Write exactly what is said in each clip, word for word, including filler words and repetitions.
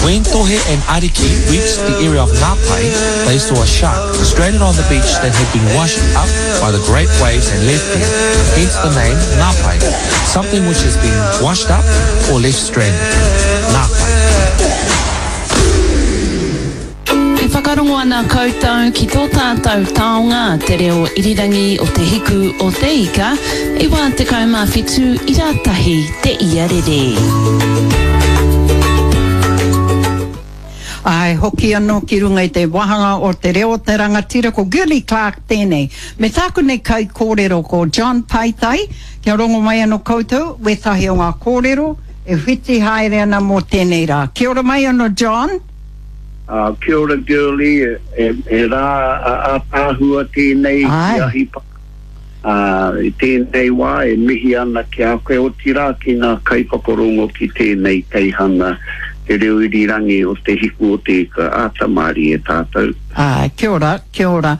When Tohe and Ariki reached the area of Ngāpai, they saw a shark stranded on the beach that had been washed up by the great waves and left there, hence the name Ngāpai, something which has been washed up or left stranded. Ngāpai. E whakarongo ana koutou ki tō tātou taonga te reo irirangi o Te Hiku o Te Ika, iwa tekau mā whitu ira tahi te iarere. Āe, hoki anō ki runga i te wāhanga o Te Reo o te Rangatira, ko Girlie Clarke tēnei. Me tāku nei kaikōrero ko John Paitai, kia rongo mai anō koutou wētahi o ngā kōrero e whiti haere ana mō tēnei rā. Kia ora mai anō John. Uh, kia ora Girlie, e, e rā ātaahua tēnei ki Ahipa. Uh, i tēnei wā e mihi ana ki a koe, otirā ki ngā kaiwhakarongo ki tēnei teihana te reo irirangi o Te Hiku o Te Ika, āta mārie tātou. Āe, kia ora, kia ora.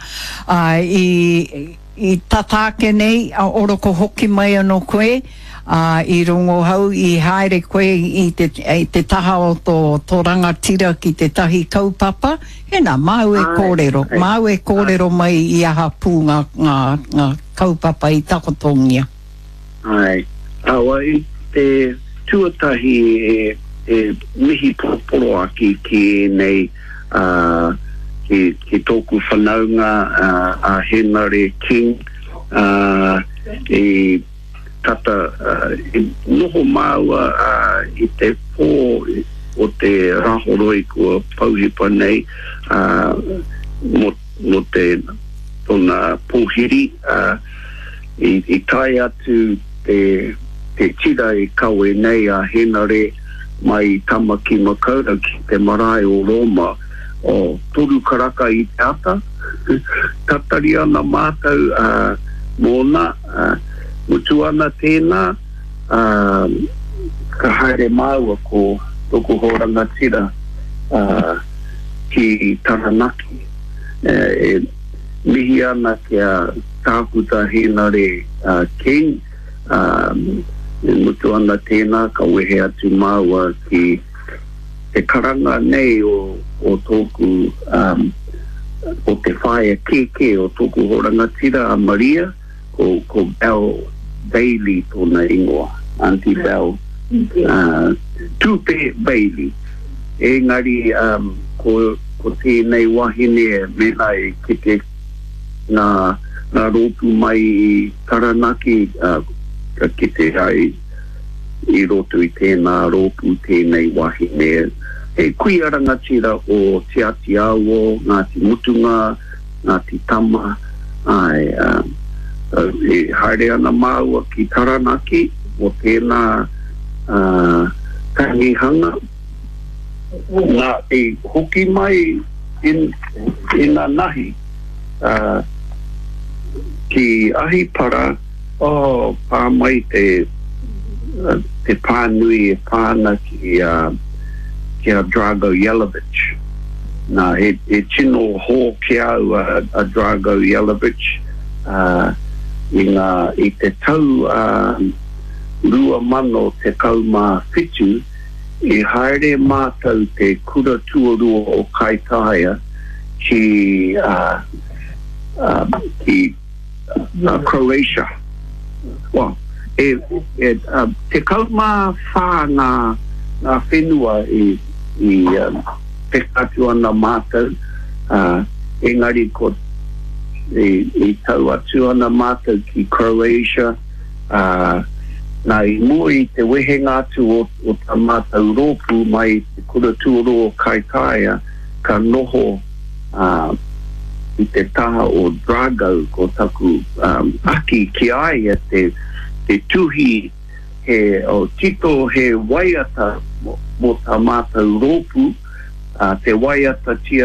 Āe, i, i tata ake nei, a oroko hoki mai anō koe, ā, i rongohau, i haere koe i te, i te taha o tō, tō rangatira ki tētahi kaupapa, hēnā, māu e kōrero, māu e kōrero mai i aha pū ngā, ngā, ngā kaupapa i takotongia. Āe, awa, i te tuatahi e, e mihi poroporoaki ki ēnei, ā, ki, ki tōku whanaunga, ā, a Henare King, ā, i tata, ā, i noho māua, ā, i te pō o te Rāhoroi kua pouhipa nei, ā, mō, mō te, tōna pōhiri, ā, i, i tae atu te, te tira i kawe nei a Henare mai i Tamaki Makaurau ki te marae o Rōma, o toru karaka i te ata. Tatari ana mātou, ā, mōna, ā, mutu ana tēnā, ā, ka haere māua ko tōku hoa rangatira, ā, ki Taranaki. E mihi ana ki a Tākuta Hēnare King, ā, e mutu ana tēnā ka wehe atu māua ki te karanga nei o, o tōku, um, o te whaea kēkē o tōku hoa rangatira a Maria, ko, ko Belle Bailey tōna ingoa, Auntie Belle, uh, Tupe Bailey. Engari, um, ko, ko tēnei wahine mēnā e kite ngā, ngā rōpū mai i Taranaki, uh, ka kite ai i roto i tēnā rōpū tēnei wahine. He kuia rangatira o Te Āti Awa, Ngāti Mutunga, Ngāti Tama, āe, um, e haere ana māua ki Taranaki mō tēnā, uh, tangihanga. Nā, i hoki mai in, inanahi, uh, ki Ahipara, oh, pā mai te, te pānui e pā ana ki, uh, ki a Drago Yelavich. Nā, he, he tino hō ki a au a, a Drago Yelavich, uh, i ngā, i te tau, uh, rua mano tekau mā whitu, i haere mātou te kura tuarua o Kaitaia ki, uh, uh, ki uh, Croatia. Well, e, e, uh, tekau mā whā ngā, ngā whenua i, i um, peka atu ana mātou, uh, engari ko i, i tau atu ana mātou ki Croatia, uh, nā i mua i te wehenga atu o, o tā mātou rōpū mai i te kura tuarua o Kaitaia, ka noho, uh, i te taha o Drago, ko taku, um, aki ki a ia te, te tuhi he, oh, tito he waiata mō, mō tā mātou rōpū, uh, te waiatatia